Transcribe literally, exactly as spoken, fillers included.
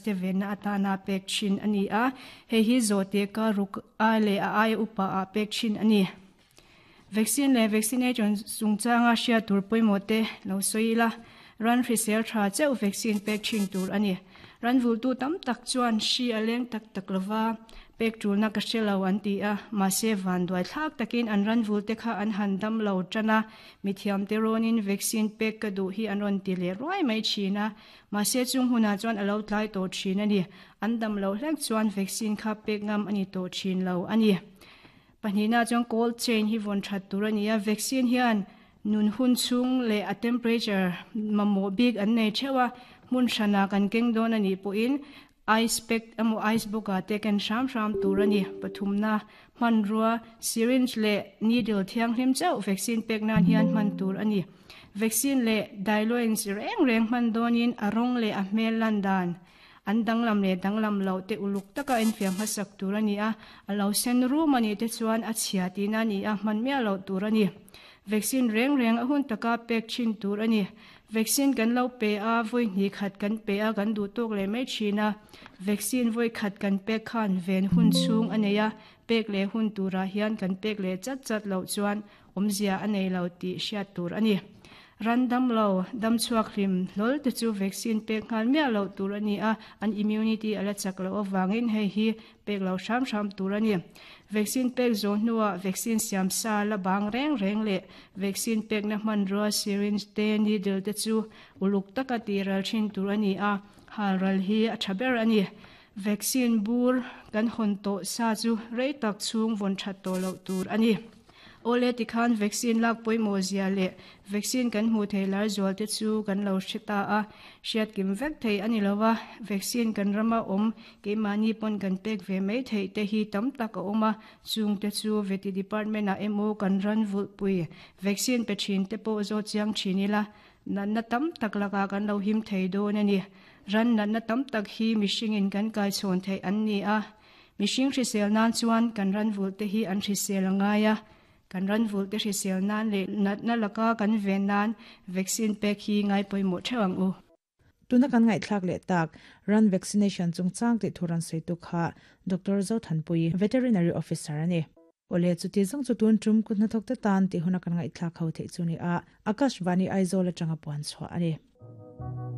Te venna atana pek thin a ni a, hei hi zawhte ka ruk a leh a aia upa ah pek thin a ni. Vaccine leh vaccination chungchanga hriat tur pawimawh te lo sawi ila, ran hrisel tha chauh vaccine pek thin tur a ni. Ran vultu tam tak chuan hri a leng tak tak lova, pek tulna ka hre lo an ti a, mahse vanduai thlak takin an ran vulte kha an han dam lo tan a, mithiamte rawnin vaccine pek ka duh hi an rawn ti leh ruai mai thin a, mahse chung hunah chuan a lo tlai tawh thin a ni. An dam loh hlek chuan vaccine kha pek ngam a ni tawh thin lo a ni. Pahnihna chuan cold chain hi vawn that tur a ni a, vaccine hian nun hun chhung leh a temperature mamawh bik an nei theuh a, hmun hranah kan keng dawn a nih pawhin ice pack emaw ice box ah te ken hram hram tur a ni. Pathumna hmanrua syringe leh needle thianghlim chauh vaccine pek nan hian hman tur a ni. Vaccine leh diluents reng reng hman dawnin a rawng leh a hmel lan dan an danglam leh danglam loh te uluk taka enfiah hmasak tur a ni a, a lo sen rum a nih te chuan a chhia tihna a ni a, hman miah loh tur a ni. Vaccine reng reng a hun taka pek thin tur a ni. Vaccine kan lo pe a, vawi hnih khat kan pe a, kan duh tawk leh mai thin a. Vaccine vawi khat kan pek khan ven hun chhung a nei a, pek leh hun turah hian kan pek leh chat chat loh chuan awmzia a nei lo tih hriat tur a ni. Ran dam lo, dam chhuak hlim hlawl te chu vaccine pek nghal miah loh tur a ni a, an immunity a la chak loh avangin hei hi pek lo hram hram tur a ni. Vaccine pek zawh hnuah vaccine siam sa la bang reng reng leh vaccine pekna hmanrua syringe te needle te chu uluk taka tih ral thin tur a ni a, hal ral hi a tha ber a ni. Vaccine bur kan hawn tawh sa chu rei tak chhung vawn that tawh loh tur a ni. Awle tikhan vaccine lak pawimawh zia leh vaccine kan hmuh thei lar zual te chu kan lo hre ta a, hriat kim vek thei a ni lova, vaccine kan rama awm keimahni pawn kan pek ve mai theih te hi tam tak a awm a, chung te chu veti department ah emaw kan ran vulhpui vaccine pe thin te pawh zawt chiang thin ila, natna tam tak lakah kan lo him thei dawn a ni. Ran natna tam tak hi mihringin kan kai chhawn theih an ni a, mihring hrisel nan chuan kan ran vulh te hi an hrisel a ngai a, kan ran vulh te hrisel nan leh natna laka kan ven nan vaccine pek hi ngai pawimawh theuh ang u. Tuna kan ngaihthlak leh tak ran vaccination chungchang tih thu rawn sawi tu kha Doctor Zothanpui, Veterinary Officer a ni. Awle chuti zawng chu tun tum kut hnathawk te tan tih huna kan ngaihthlak ho theih chu ni a, Akashvani Aizawl atanga puan chhuah a ni.